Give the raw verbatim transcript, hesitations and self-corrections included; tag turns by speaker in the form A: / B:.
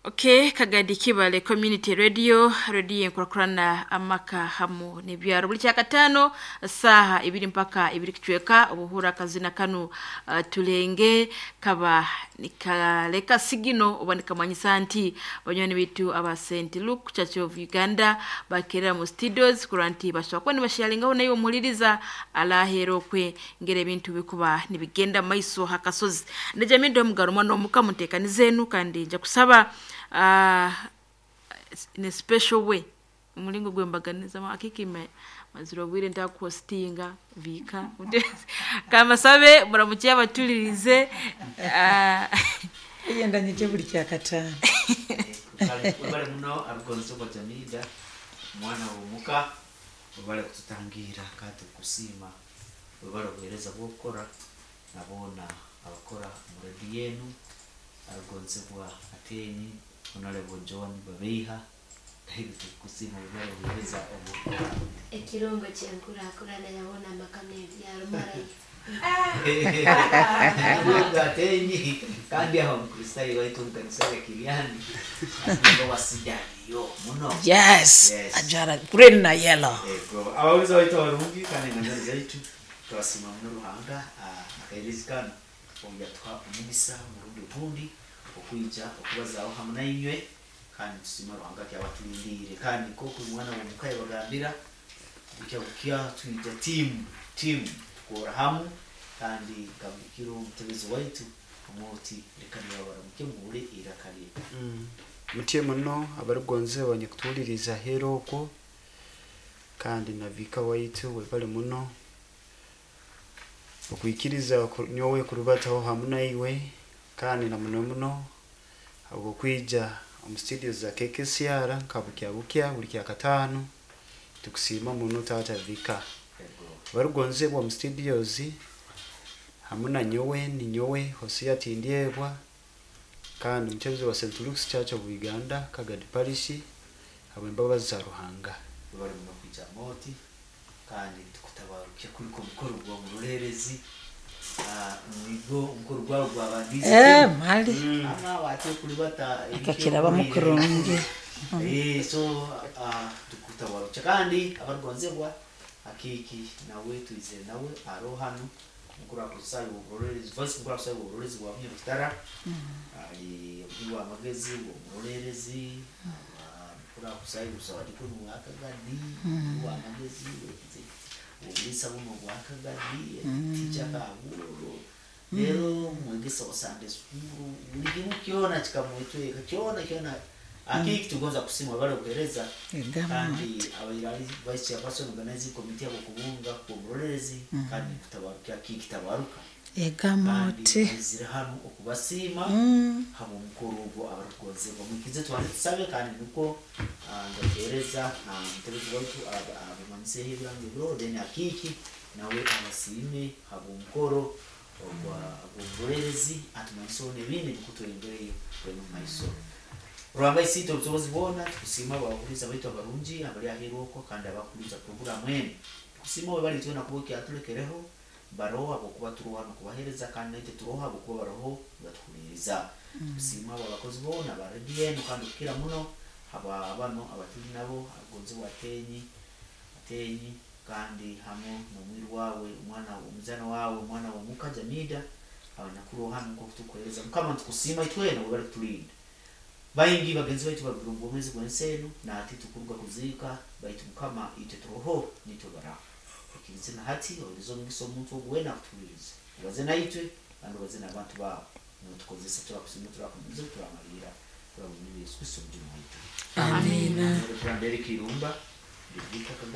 A: Okay, Kagadi Kibale Community Radio, radio enkurakurana amaka hamu n'ebyaro. Buli kyakataano saaha ibiri mpaka ibiri kicweka obuhura akazina kanu uh, tulenge kaba nikaleka sigino oba nikamanyisa nti banywani bitu aba Saint Luke Church of Uganda bakerera mu studios kurora nti bashobora kuba nibasharingaho naye omuhuliriza alahera okwe ngera ebintu bikuba nibigenda maiso hakasozi. Ndejamidde omugaro omwana omuka muteekanize enu kandi nja kusaba uh, in a special way omulingo gwembaganizamu akikime mazira obwire ntakuhostinga viika kamasabe muramukye abatulirize uh,
B: Eyendanyije buli kyakataano.
C: Webale muno arugonzebwa Jamida mwana womuka, webale kututangira kandi tukusiima, webale obuheereza bwokukora naboona abakora mu rediyo enu, arugonzebwa Atenyi, Honorable John Babeiha, nahibi tukusiima, webale obuheereza obwokukora.
D: Ekirungo kyenkurakurana yabona amaka n'ebyaro marayi.
C: Atenyi kandi aho Mukristayo waitu omukanisa ya Kiriani wasijaliyo muno.
B: Yes,
C: Yes.
B: Ajara green na yellow.
C: Ego, abawuliza waitu abarungi kandi engano zaitu twasiima muno Ruhanga akairezi kano obu yatuha omugisa omurundi ogundi okwija okubazaaho hamu nainywe, kandi tusiima Ruhanga kyabatulindiire, kandi nk'oku omwana w'omuka yabagambira bukya bukya twija tiimu tiimu tukora hamu, kandi nkabikiro omutebezi waitu omwoti leka nibabaramuke muhure iraka rye.
E: Mm. Mutye muno abarigonze banyekutuhuliriza hera okwo, kandi na vika waitu webale muno okwikiriza ku- nyowe kurubataho hamu naiwe, kandi na muno muno habwokwija omu studio za K K C R nka bukya bukya buli kyakataano, tukusiima muno taata vika.
C: Ego.
E: Barigonzebwa mu studios hamu na nyowe ni nyowe Hosea Tindyebwa kandi mutebezi wa Saint Luke's Church of Uganda, Kagadi Parish, habw'embabazi za Ruhanga.
C: Webale muno kwija moti, kandi tukutabarukya kuliko omukoro gwa murolerezi. Ah, nigo omukoro gwawe gwabandize.
B: Eh, mali.
C: Ama wate kulibata.
B: Akakirabamu kurungi.
C: Eh, so ah, tukutabarukya kandi abarugonzebwa akiki nawe tuize nawe aro hano mukuru akusayo oburolerezi, vice mukuru akusayo oburolerezi bwa Munyarutara, ali omuhi wa magezi omurolerezi mukuru akusayo busawadikoni bwa Kagadi wa magezi obulisa buno bwa Kagadi ticha kabulo rero mwegesa wa Sunday school, buli kimu kyona kikamwetweka kyona kyona akiki tugonza kusima bale obuhereza.
B: Egamba.
C: Kandi abairali vice chairperson organizing committee abo kubunga ku murolerezi kandi kutabaruka akiki tabaruka.
B: Egamba
C: kandi
B: oti.
C: Aizire hano okubasiima
B: Mm.
C: haba omukoro ogwo abarukugonzebwa mwikize twanje tusabe, kandi nukwo ah, ndakuhereza ah, mutebezi waitu aba- abamanyiseho ebirango ebiro, then akiki nawe abasiime haba omukoro ogwa ogw'omurolerezi atumanyiseho n'ebindi nukwo tweyongereyo twene omu maiso. Ruhanga isiite obusobozi bwona, tukusiima abahuliza baitu abarungi abali aheeru okwo kandi abakuliza puroguramu enu, tukusiima we bali twena kuba okyatulekereho baroho habwokuba turoho hano kubaheereza, kandi naitwe turoho habwokuba baroho nibatuhuliriza. Tukusiima abo abakozi boona ba rediyo enu, kandi kukira muno aba bano abatuli nabo agonzebwa Atenyi Atenyi kandi hamu n'omwiru wawe omwana omuzana wawe omwana w'omuka Jamida abanyakuroho hano nk'oku tukuheereza. Mukama ntukusiima itwena webale kutulinda. Baingi bagenzi baitu barugire omu bwomeezi bw'ensi enu nati tukuruga kuziika, baitu Mukama itwe turoho nitwe baraho ikirize na hati ohereze omugisa omuntu ogu weena akutuhuliriza, obaze naitwe kandi obaze n'abantu baawe notukozesa. Turakusiima, turakumiza, turamalira turabona Yesu Kristo omujuni waitu.
B: Amina.
C: Reverend Eric Irumba Bivika.